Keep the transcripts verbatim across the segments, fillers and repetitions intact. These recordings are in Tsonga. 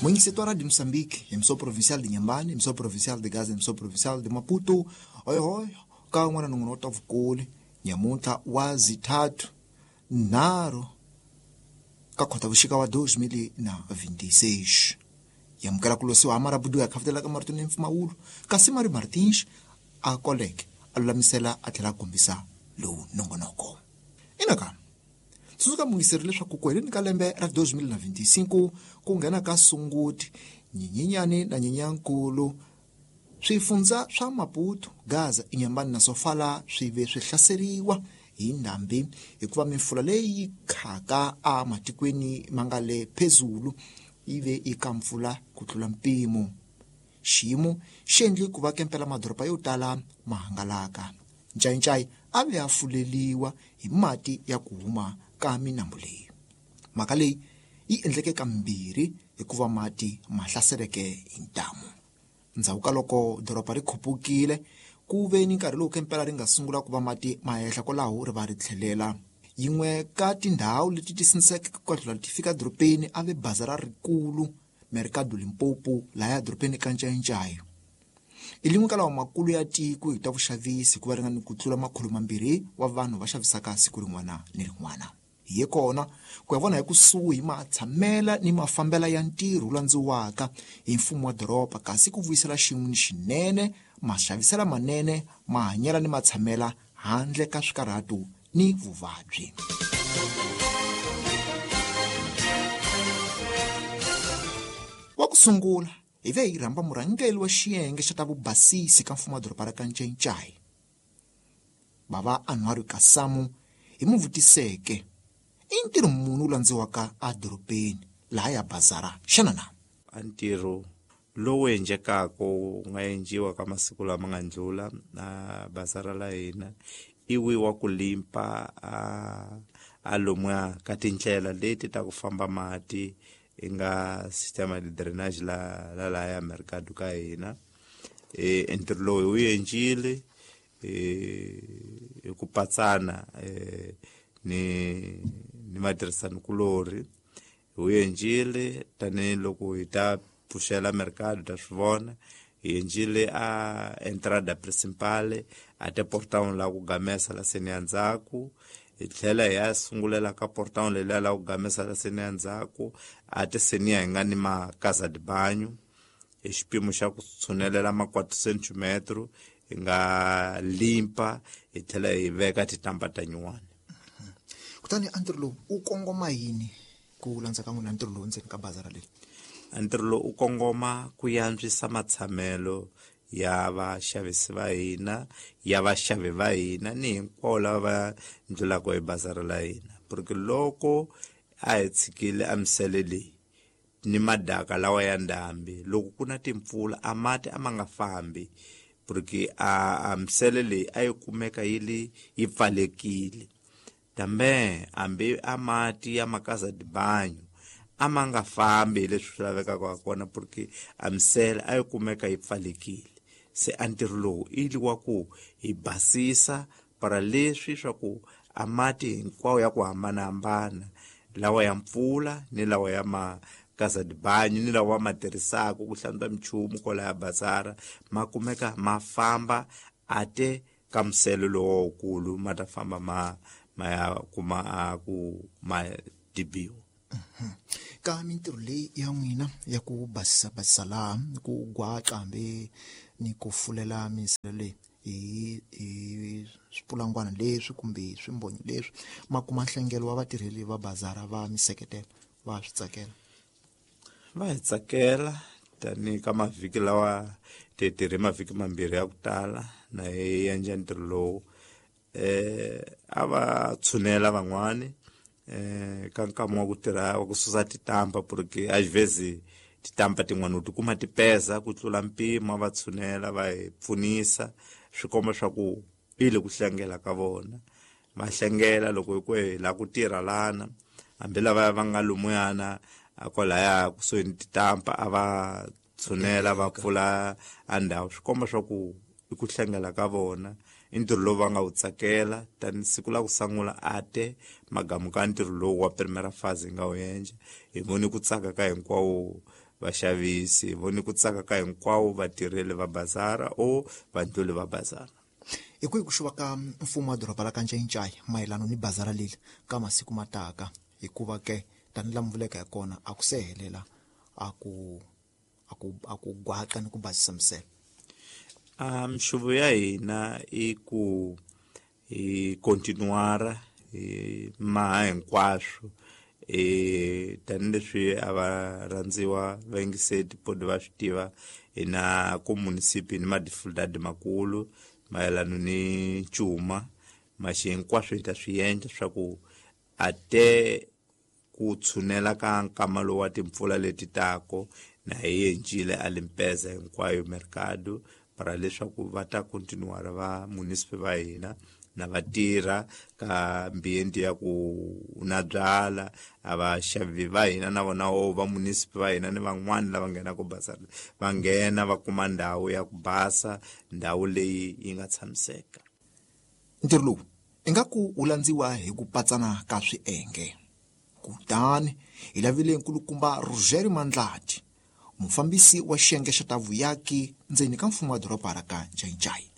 Munhisito wa Rádio Moçambique, emissão provincial de Inhambane, emissão provincial de Gaza, emissão provincial de Maputo. Oi oi, ka n'wana nongonoko wa vukuli nyamuntlha wa zithathu nharhu ka Khotavuxika wa dois mil na vinte e seis. Yamukela ku losiwa marabudu ya khafutela ka marito ni mpfumawulo kasi Mari Martins a koleke a lulamisela a tlhela a kombisa lowu nongonoko. Ina tsundzuka mungiseri leswaku ku heleni ka lembe ra dois mil na vinte e cinco ku nghena ka Sunguti, Nyenyenyani na Nyenyankulu, swifundza swa Maputo, Gaza, Inhambane na Sofala swi ve swi hlaseriwa hi ndhambi hikuva mifula leyi khaka a matikweni ma nga le phezulu yi ve eka mpfula ku tlula mpimo. Xiyimo xi endle ku va kempela madoroba yo tala ma hangalaka. Ncayincayi a ve a fuleliwa hi mati ya ku huma ka minambu leyi. Mhaka leyi yi endleke kambirhi hikuva mati ma hlaseleke hi ntamu. Ndzhaku ka loko doroba ri khupukile ku ve ni nkarhi lowu kempela ri nga sungula ku va mati ma ehla kwalaho ri va ri tlhelela. Yin'we ka tindhawu leti ti sindziseke ku tlhela ti fika dorobeni a ve bazara rikulu Mercado Limpopo laya dorobeni ka Ncayincayi. I lin'we ka lawa makulu ya tiko hi ta vuxavisi hikuva ri nga ni ku tlula makhulu mambirhi wa vanhu va xavisaka siku rin'wana ni rin'wana. Hi ye kona ku ya vona hi kusuhi matshamela ni mafambela ya ntirho wu landziwaka hi mfumo wa doroba kasi ku vuyisela xin'we ni xinene maxavisela manene mahanyela ni matshamela handle ka swikarhato ni vuvabyi. Wa ku sungula hi ve hi rhamba murhangeri wa xiyenge xa ta vubasisi ka mfumo wa doroba ra ka Ncayincayi, bava Anwar Kasamu, hi mu vutiseke i ntirho muni wu landziwaka edorobeni laha ya bazara xana na? A ntirho lowu endlekaka wu nga endliwa ka masiku lama nga ndlula na bazara la hina i wi wa ku limpa a a lomuya ka tindlela leti ta ku famba mati i nga sistema de drainage la la la ya mercado ka hina. E ntirho lowu wu endlile e hi ku patsana e ni ni matirhisanikulorhi wu endlile tanihiloko hi ta pfuxela mercado ta swi vona. Hi endlile a entrada principal a te portão la ku gamesa la seni ya ndzhaku, hi tlhela hi ya sungulela ka portão leliya la ku gamesa la seni ya ndzhaku a te seniya hi nga ni ma casa de banho hi xipimo xa ku tshunelela ma quatro centimetro hi nga limpa hi tlhela hi veka titampa ta nyuwani. Kutani a ntirho lowu wu kongoma yini ku landza ka n'wina ntirho lowu ndzeni ka bazara leyi? A ntirho lowu wu kongoma ku yantswisa matshamelo ya vaxavisi va hina, ya vaxavi va hina ni hinkwavo lava va ndlulaka hi bazara la hina, porque loko a hi tshikile a misele leyi ni madaka lawa ya ndhambi loko ku na timpfula a mati a ma nga fambi, porque a a misele leyi a yi kumeka yi li yi pfalekile. Kambe hambi a mati ya ma-casa de banho a ma nga fambi hi leswi swi lavekaka ha kona, porque a misele a yi kumeka yi pfalekile. Se a ntirho lowu i wa ku hi basisa para leswi swa ku a mati hinkwawo ya ku hambanahambana lawa ya mpfula ni lawa ya ma-casa de banho ni lawa ma tirhisaka ku hlantswa minchumu kwalaya bazara ma kumeka ma famba a te ka misele lowukulu ma ta famba ma ma ya kuma a ku ma dibiwa. Ka mintirho leyi ya n'wina ya ku basisa basisa laha ku gwaca hambi ni ku fulela misele leyi hi hi swipulangwana leswi kumbe swimbonyo leswi ma kuma nhlengelo wa vatirheli va bazara va mi seketela va swi tsakela? Va hi tsakela tanihi ka mavhiki lawa ti tirhe mavhiki mambirhi ya ku tala na hi endla ntirho lowu. Eh a va tshunela van'wani eh ka nkama wa ku tirha wa ku susa titampa, porque às vezes titampa tin'wana u tikuma ti peza ku tlula mpimo, va tshunela va hi pfunisa swi komba swa ku i le ku hlengela ka vona. Va hlengela loko hi ku hi lava ku tirha lana hambi lava va nga lumuyana a kwalaya kusuhi ni titampa a va tshunela va pfula a ndhawu, swi komba swa ku i ku hlengela ka vona i ntirho lowu va nga wu tsakela. Tani siku la ku sungula a te magamu ka ntirho lowu wa primera fase hi nga wu endla hi vone ku tsaka ka hinkwawo vaxavisi voni ku tsaka ka hinkwavo vatirheli va bazara o vandluli va bazara. Hi kwihi ku xuva ka mfumo wa doroba la ka Ncayincaya mayelana ni bazara leli ka masiku mataka, hikuva ke tani la mvuleka ya kona a ku se helela a ku a ku a ku gwaqa ni ku basisa misele? A mixuvo ya hina i ku hi continuara hi maha hinkwaswo e tanihileswi a va rhandziwa vayingiseti podi va swi tiva hina ku munisipi ni madificultad makulu mayelana ni ncuma maxi hinkwaswo hi ta swi endla swa ku a te ku tshunela ka nkama lowu wa timpfula leti tako na hi encile a limpeza hinkwayo mercado para leswaku va ta continuara va munisipi va hina na vatirha ka ambiente ya ku na byala a vaxavi va hina na vona o va munisipi va hina ni van'wani lava nghenaka bazara va nghena va kuma ndhawu ya ku basa, ndhawu leyi yi nga tshamiseka. Ntirho lowu ingaku wu landziwa hi ku patsana ka swienge. Kutani hi lavile nkulukumba Roger Mandlati, mufambisi wa xiyenge xa ta vuyaki ndzeni ka mfumo wa doroba ra ka Ncayincaya,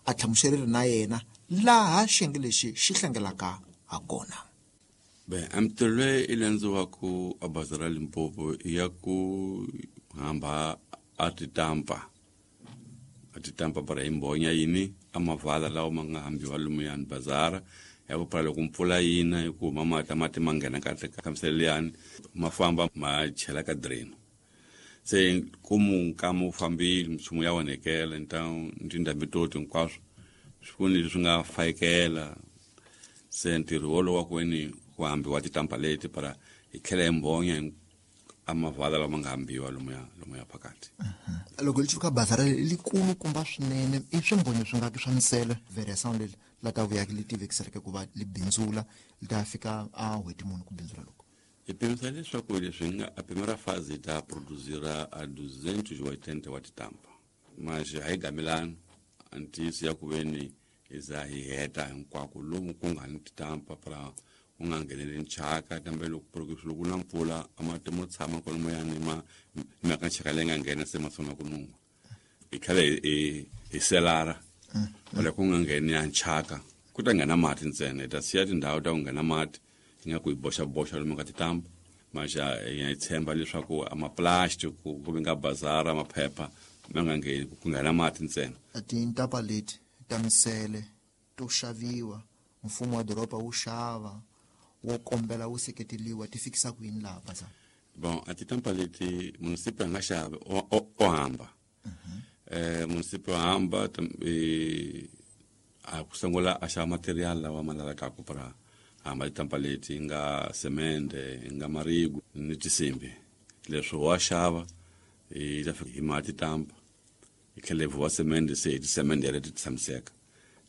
a hlamuserile na yena laha xiyenge lexi xi hlengelaka ha kona. Be a mintirho leyi i landziwaku a bazara Limpopo i ya ku hamba a titampa a titampa para hi mbhonya yini a mavala lawa ma nga hambiwa lomuyani bazara ya ku para loko mpfula yina hi ku huma mati mati ma nghena kahle ka misele liyani ma famba ma chela ka drain. Se kumu nkama wu fambile minchumu ya onhekela nta tindhambi to hinkwaswo swi ku ni leswi nga fayekela. Se ntirho wolowo wa ku weni ku hambiwa titampa leti para hi tlhela hi mbhonya a mavala lama nga hambiwa lomuya lomuya phakathi. Loko li ka bazara likulu kumba swinene i swimbonyo swi nga ki swa misele variation leli la ta vuyaki li tivekiseleke ku va li bindzula li ta fika a n'hweti muni ku bindzula loko? Hi pimisa leswaku leswi nga a primeira fase ta produzira a duzentos e oitenta wa titampa mas a hi gamelani a ntiyiso ya ku veni hi za hi heta hinkwako lomu ku nga ni titampa para ku nga ngheneli nchaka kambe loko loko na mpfula a mati mo tshama kwalomoyani ma mhaka nchaka leyi nga nghena se ma sungula ku nuha hi tlhela hi hi selara wala ku nga ngheni ya nchaka ku ta nghena mati ntsena. Hi ta siya tindhawu ta ku nghena mati hi nga ku hi boxaboxa lomu ka titampa mas hi tshemba leswaku a maplastic ku ku nga bazara maphepha ma nga ngheni ku nghena mati ntsena. Tintampa leti ta misele to xaviwa mfumo wa doroba wu xava wo kombela wu seketeliwa ti fikisa ku yini laha bazara? Bon, a titampa leti munisipi a nga xavi o hamba eh munisipi o hamba a ku sungula a xava material lawa ma lavekaka para hamba titampa leti nga semende nga marigu ni tisimbi leswi wa xava hi ta fika hi ma titampa hi tlhela hi vuwa semende se hi tisemende leti ti tshamiseka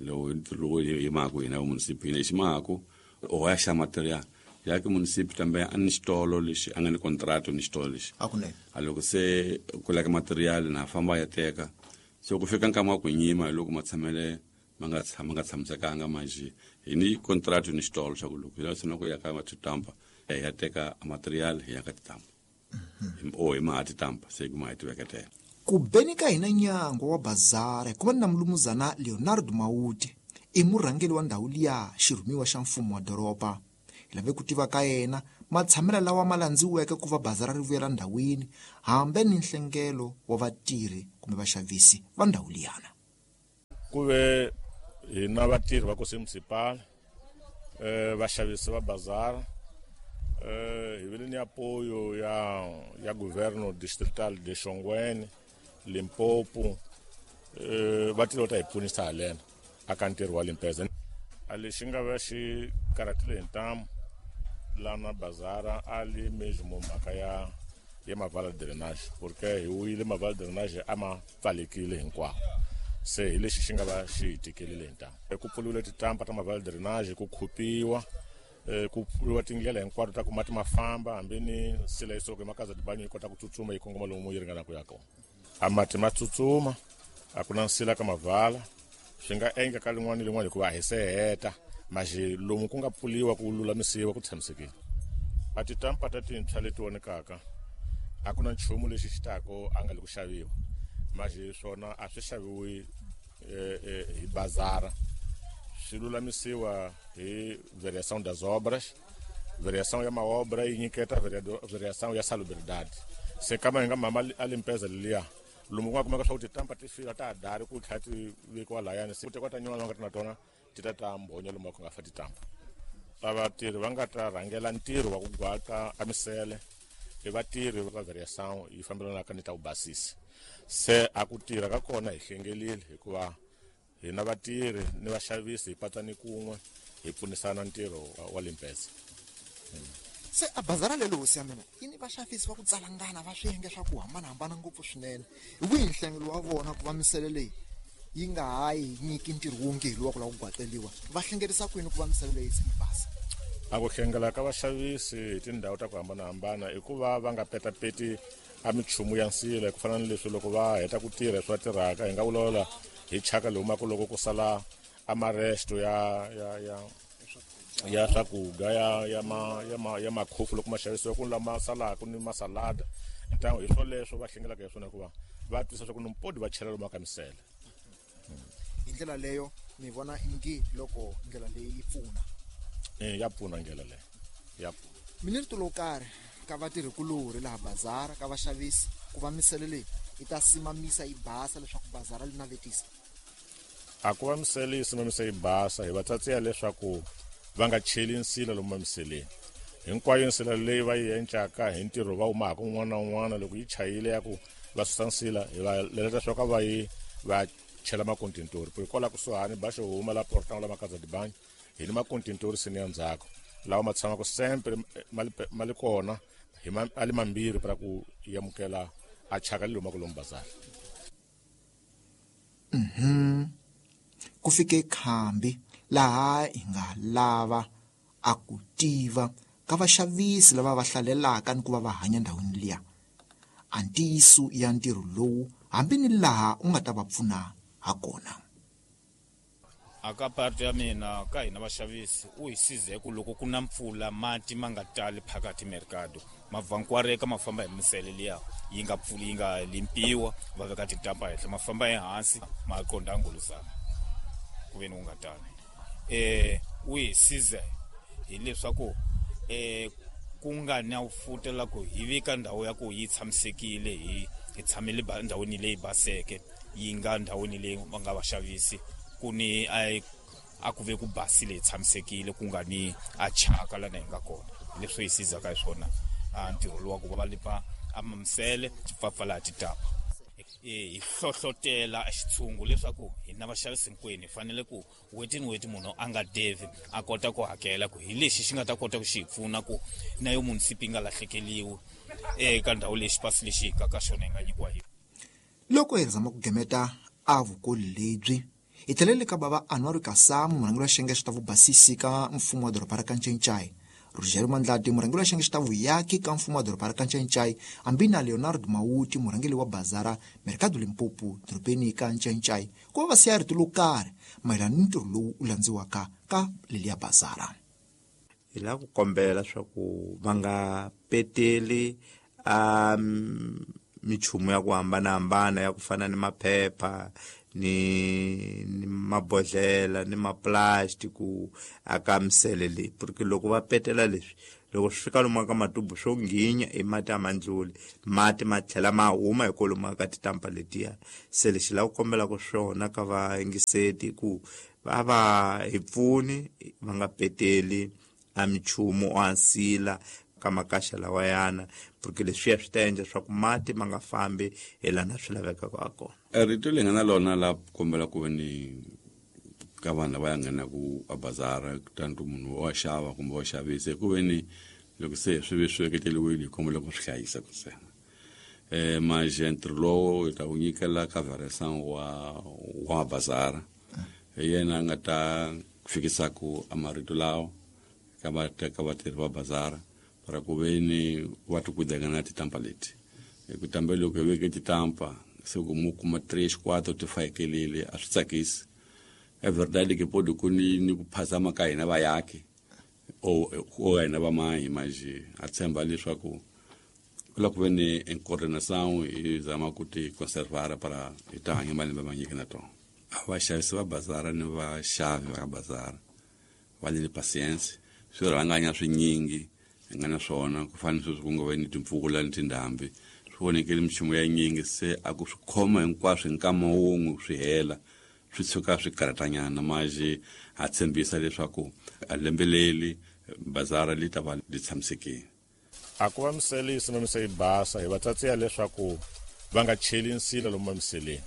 lowu lowu hi maku hina munisipi hina hi xi maku o ya xa material ya ke munisipi tambe a ni xitolo lexi a nga ni contrato ni xitolo lexi a loko se ku laka material na famba ya teka se ku fika nkama wa ku nyima hi loko matshamele ma nga tshama nga tshamisekanga manjhe hi ni contrato ni xitolo xa ku loko hi lava ku ya ka titampa hi ya teka material hi ya ka titampa o hi maha titampa se ku ma hi ti veketela. Ku beni ka hina nyangwa wa bazara ku va na mulumuzana Leonardo Mawuti i murhangeri wa ndhawu liya xirhumiwa xa mfumo wa doroba. Hi lave ku tiva ka yena matshamelo lawa ma landziweke ku va bazara ri vuyela ndhawini hambe ni nhlengelo wa vatirhi kumbe vaxavisi va ndhawu liyana. Ku ve hina vatirhi va Kosi Municipal eh vaxavisi va bazara eh hi vile ni apoyo ya ya governo distrital de Shongweni Limpopo eh va tile va ta hi pfunisa halena aka ntirho wa limpeza. A lexi nga va xi karhatile hi ntamu lana bazara a li mesmo mhaka ya ya mavala drainage porque hi wile mavala drainage a ma pfalekile hinkwako se hi lexi xi nga va xi hi tikelile hi ntamu. Ku pfuriwile titampa ta mavala drainage ku khupiwa ku pfuriwa tindlela hinkwato ta ku mati ma famba hambi ni sila yi suka emakaza tibanyo yi kota ku tsutsuma yi kongoma lomu yi ringanaka ku ya kona. A mati ma tsutsuma a ku na nsila ka mavala swi nga endla ka lin'wana ni lin'wana hikuva a hi se heta maxi lomu ku nga pfuliwa ku lulamisiwa ku tshamisekile. A titampa ta tintshwa leti vonekaka A ku na nchumu lexi xi tako a nga le ku xaviwa manje swona a swi xaviwi hi bazara, swi lulamisiwa hi variação das obras. Variação ya maobra yi nyiketa variação ya salubridade. Se kama hi nga mama a limpeza leliya lomu ku nga kumeka swa ku titampa ti fika ta ha dari ku tlhela ti vekiwa layani, se ku tekiwa ta nyuwana va nga ti na tona ti ta ta mbhonya lomu ku nga fa titampa. Ta vatirhi va nga ta rhangela ntirho wa ku gwaka a misele i vatirhi va variação yi fambelanaka ni ta ku basisa. Se a ku tirha ka kona hi hlengelile hikuva hina vatirhi ni vaxavisi hi patsani kun'we hi pfunisana ntirho wa limpeza. Se a bazara lelo hosi ya mina yi ni vaxavisi va ku tsalangana va swiyenge swa ku hambanahambana ngopfu swinene. Hi wihi nhlengelo wa vona ku va misele leyi yi nga ha yi nyiki ntirho wonge hi luwa ku lava ku gwaqeliwa, va hlengerisa kwini ku va misele leyi se yi basa? A ku hlengela ka vaxavisi hi tindhawu ta ku hambanahambana i ku va va nga petapeti a minchumu ya nsila, ku fana ni leswi loko va heta ku tirha leswi va tirhaka hi nga vulavula hi chaka leyi humaka loko ku sala a maresto ya ya ya ya swakudya ya ya ma ya ma ya makhofu loko ma xavisiwa ku lama salaka ni masalada ntango hi swoleswo va hlengelaka hi swona hikuva va twisisa swa ku nimpodi va chela lomu ka misele. Hi ndlela leyo mi vona ingi loko ndlela leyi yi pfuna? Eh, ya pfuna ndlela leyo ya pfuna. Mi ni rito lo karhi ka vatirhikulorhi laha bazara ka vaxavisi ku va misele leyi yi ta simamisa yi basa leswaku bazara li navetisa? A ku va misele yi simamisa yi basa hi va tsatsiya leswaku va nga cheli nsila lomu mamiseleni. Hinkwayo nsila leyi va yi encaka hi ntirho va humaka un'wana na un'wana loko yi chayile ya ku va susa nsila hi va leleta swa ka va yi va chela makontintori ku hikwalaho kusuhani ba xo huma la portang la makaza dibangi hi ni makontintori sini ya ndzhaku lawa ma tshamaka sempre ma li kona hi ma a li mambirhi para ku amukela a chaka le humaka lomu bazara. Mhm ku fike khambi laha hi nga lava a ku tiva ka vaxavisi lava va hlalelaka ni ku va va hanya ndhawini liya a ntiyiso ya ntirho lowu hambi ni laha u nga ta va pfuna ha kona. A ka parte ya mina ka hina vaxavisi u hi size ku loko ku na mpfula mati ma nga tali phakathi mercado ma vankwareka ma famba hi misele liya yi nga pfuli yi nga limpiwa va veka titampa henhla ma famba ehansi ma qonda ngoluzana ku ve ni wu nga tali. Eh u hi size hileswaku eh ku nga na futa la ku hi vika ndhawu ya ku yi tshamisekile hi hi tshamele ndhawini leyi baseke yi nga ndhawini leyi va nga vaxavisi ku ni a a ku ve ku basile hi tshamisekile ku nga ni a chaka lana hi nga kona. Leswi hi sizaka hi swona a ntirho lowa ku va lipa a mamisele tipfapfa titapa hi hlohlotela xitshungu leswaku hina vaxavisi hinkwenu hi fanele ku weti ni weti munhu a nga devi a kota ku hakela ku hi lexi xi nga ta kota ku xi hi pfuna ku na yo munisipi yi nga lahlekeliwi eka ndhawu leyi xipasi lexi hi ka xona hi nga nyikiwa hi. Loko hi zama ku gemeta a vukoli lebyi hi tlhelele ka bava Anwar Kasamu murhangeri wa xiyenge xa ta vubasisi ka mfumo wa doroba ra Kanchenchai, Rogério Mandlati murhangeri wa xiyenge xa ta vuyaki ka mfumo wa doroba ra Kanchenchai, hambi na Leonardo Mawuti murhangeri wa bazara Mercado Limpopo dorobeni ka Ncancai ku va va siya rito lo karhi mayelana ni ntirho lowu u landziwaka ka leliya bazara. Hi lava ku kombela swa ku va nga peteli a minchumu ya ku hambanahambana ya ku fana ni maphepha ni ni mabodhlela ni maplastiki aka misele leyi, porque loko va petela leswi loko swi fika lomu ka matubu swo nghinya i mati a ma ndluli mati ma tlhela ma huma hi kwalomu ka titampa letiya. Se lexi lava ku kombelaka swona ka vayingiseti ku va va hi pfuni va nga peteli a minchumu o ansila ka makaxa lawayana, porque leswiya swi ta endla swa ku mati ma nga fambi hi lana swi lavekaka ha kona. Rito leyi nga na lona la kombela ku ve ni ka vanhu lava ya nghenaku a bazara kutani ku munhu wa xava kumbe wa xavisa ku ve ni loko se swi ve swi veketeliwile hi kombela ku swi hlayisa ku ntsena. Um manje ntirho lowo hi ta wu nyikela ka variação wa wa bazara hi yena a nga ta fikisaku a marito lawa ka va ka vatirhi va bazara para ku ve ni va ti kudeka na titampa leti. Hi ku tambe loko hi veke titampa se ku mu kuma três quatro ti fakelile a swi tsakisi. É verdade que pode ku ni ni ku phazama ka hina vayaki o o hina va mahi mas a tshemba leswaku Kula ku ve ni coordenação hi zama ku ti conservar para hi ta hanya malembe manyingi na tona. A vaxavisi va bazara ni vaxavi va bazara va ni patience, swi rhanganya swinyingi hi nga na swona ku fana ni sweswi ku nga ve ni timpfula ni tindhambi swi vonekele minchumu ya nyingi, se a ku swi khoma hinkwaswo hi nkama wun'we swi hela swi tshuka swi karhatanyana. Maje ha tshembisa leswaku a lembe leri bazara li ta va li tshamisekile. A ku va misele yi sima mise yi basa hi va tsatsiya leswaku va nga cheli nsila lomu mamiseleni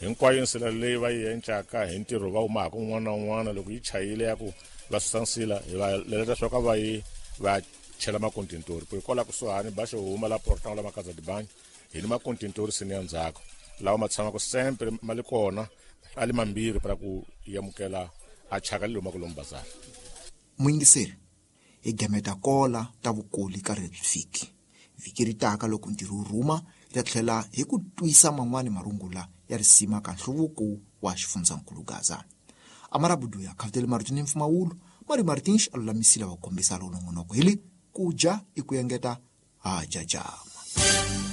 hinkwayo nsila leyi va yi encaka hi ntirho va humaka un'wana na un'wana loko yi chayile ya ku va susa nsila hi va leleta leswaku a va yi va chela makontintori ku hikwalaho kusuhani ba xo huma la portang la makaza dibangi hi ni makontintori sini ya ndzhaku lawa ma tshamaka sempre ma li kona a li mambirhi para ku yamukela a chaka li humaka lomu bazara. Muyingiseri hi gameta kola ta vukoli ka vhiki vhiki ri taka loko ntirho wu rhuma hi ta tlhela hi ku twisa man'wani marungula ya risima ka nhluvuko wa xifundzankulu Gaza. Amarabuduya khavutele marito ni mpfumawulo Mari Martins a lulamisile va kombisa lowu nongonoko hi li ku dya i ku engeta ha jaja.